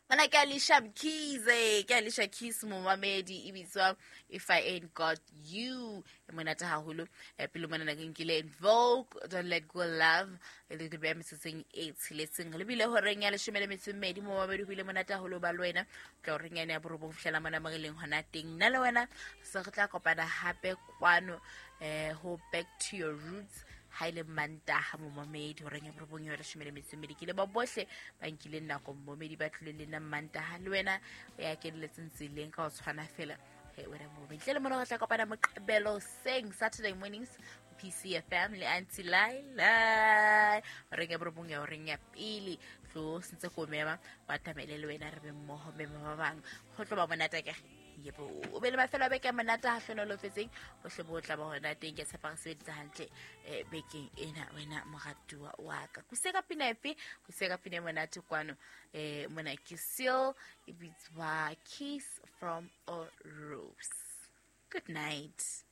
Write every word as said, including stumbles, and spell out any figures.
Mana ke Alicia Mkhize, ke Alicia Keys momamedi, e bitswa If I Ain't Got You. E monate haholo. Eh, pele mona ke nkile Invoke, Don't Let Go Love, e le be metsotsong e tsheletseng. Le bile horeng ya leshome le metso e mmedi momamedi, ho bile monate haholo ba le wena. Tla horeng yane ya borobong fihlela mona mo re leng hona teng. Nna le wena se re tla kopana hape kwano eh ho Back to Your Roots ha ile Mantaha momamedi horeng ya borobong ya leshome le metso e mmedi. Ke le ba bohle ba nkileng nako momamedi ba tlile le nna Mantaha, le wena ya keneletseng tseleng ka ho tshwana fela. He wena momamedi, tle le mona re tla kopana Moqebelo seng, Saturday mornings, P C F M le Auntie Laila horeng ya borobong ya horeng ya pele. Tlo sentse ko mema ba tamele le wena re be mmoho mema ba bang, ho tlo ba monate akere. Yebo, o be le mafelo a beke a monate ha hlonolofetseng, bohle bo tla ba hona teng. Ke tshepa re sebeditse hantle, eh, bekeng ena wena moratuwa wa ka. Kuse ka pina efe? Kuse ka pina e monate kwano. Eh, mona ke Seal, e bitswa Kiss from a Rose. Good night.